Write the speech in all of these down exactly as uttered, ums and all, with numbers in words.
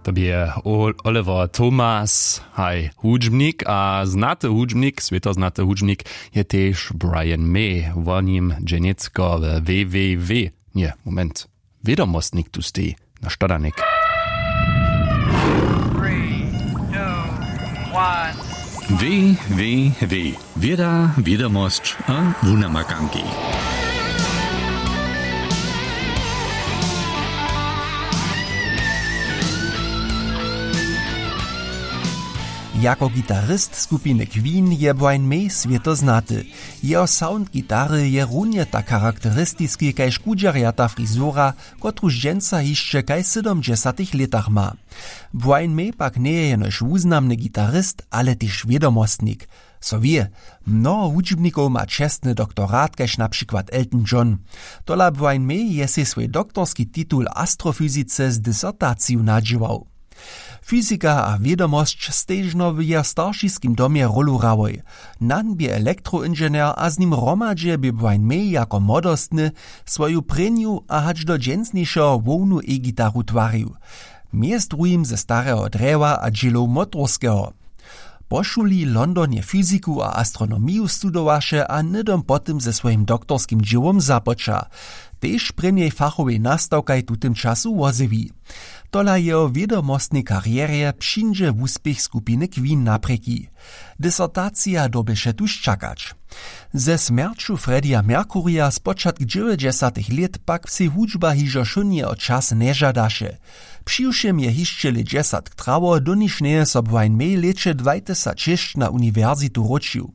To bě Oliver Thomas, haj hudźbnik a znaty hudźbnik, swětoznaty hudźbnik, je tež Brian May. Wo nim dźenjecko we www, nje, moment, wědomostnik tu steji, na štodanik. Www, wěda, wědomosć a wunamakanki. Jako gitarist skupiny Queen je Brian May swěto znaty. Jeho sound gitary je runje tak charakteristiski kaž kudźerjata frizura, kotruž dźensa hišće kaž w sydomdźesatych lětach ma. Brian May pak njeje jenož wuznamny gitarist, ale tež wědomostnik. So wě, mnoho hudźbnikow ma čestny doktorat kaž na přikład Elton John. Tola Brian May je sej swój doktorski titul w astrofyzice z disertaciju nadźěłał. Fyzika a wědomosć stežno w jeho staršiskim domje rólu hrałoj. Nan bě elektroinženjer a z nim hromadźe bě Brian May jako młodostny swoju prěnju a hač do dźensnišeho hłownu e-gitaru twarił. Mjez druhim ze stareho drjewa a dźělow motorskeho. Po šuli w Londonje fyziku a astronomiju studowaše a hnydom po tym ze swojim doktorskim dźěłom započa. Tež prěnjej fachowej nastawkaj w tutym času wozjewi. Tola jeho wědomostnej karjerje přińdźe wuspěch skupiny Queen naprěki. Disertacija dyrbješe tuž čakać. Ze smjerću Freddya Mercurya spočatk dźewjećdźesatych lět pak sej hudźba hižo wšónjeho čas nježadaše. Přiwšěm je hišće lětdźesatk trało, doniž njeje so Brian May lěće dwajtysacšěsć na uniwersitu wróćił.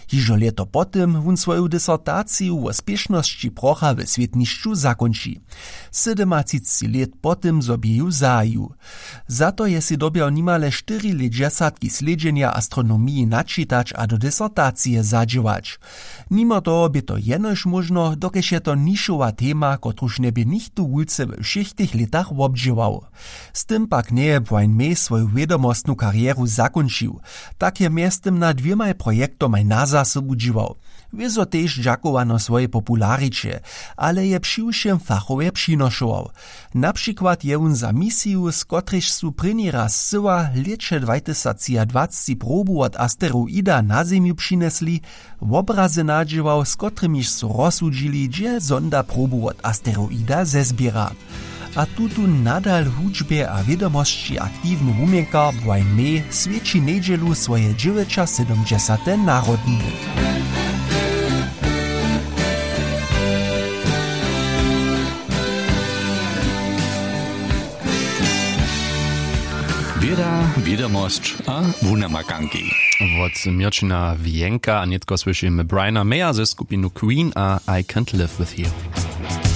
Hižo lěto po tym wón swoju disertaciju wo spěšnosći procha we swětnišću zakónči. Sydomatřicci lět po tym zo bě ju zahajił. Za to je sej dyrbjał nimale štyri lětdźesatki slědźenja astronomiji načitać a do disertacije zadźěłać. Nimo toho bě to jenož móžno, dokelž je to nišowa tema, kotruž njebě nichtó wulce we wšěch tych lětach wobdźěłał. Z tym pak njeje Brian May swoju wědomostnu karjeru zakónčił. Tak je mjeztym nad dwěmaj projektomaj na zasobu dźěłał. Wězo tež dźakowano swojej populariće, ale je přiwšěm fachowje přinošował. Na přikład je wón za misiju, z kotrejž su prěni raz scyła lěće dwajtysactřiadwacci probu wot asteroida na Zemju přinjesli, wobrazy nadźěłał, z kotrymiž su rozsudźili, hdźe sonda probu wot asteroida zezběra. A tutón nadal w hudźbje a wědomosći aktiwny wuměnkar Brian May swjeći njedźelu swoje dźewjećasydomdźesate narodniny. Wěda, wědomosć a wunamakanki. Wot Měrćina Wjenka a nětko słyšimy Briana Maya ze skupinu Queen a I Can't Live With You.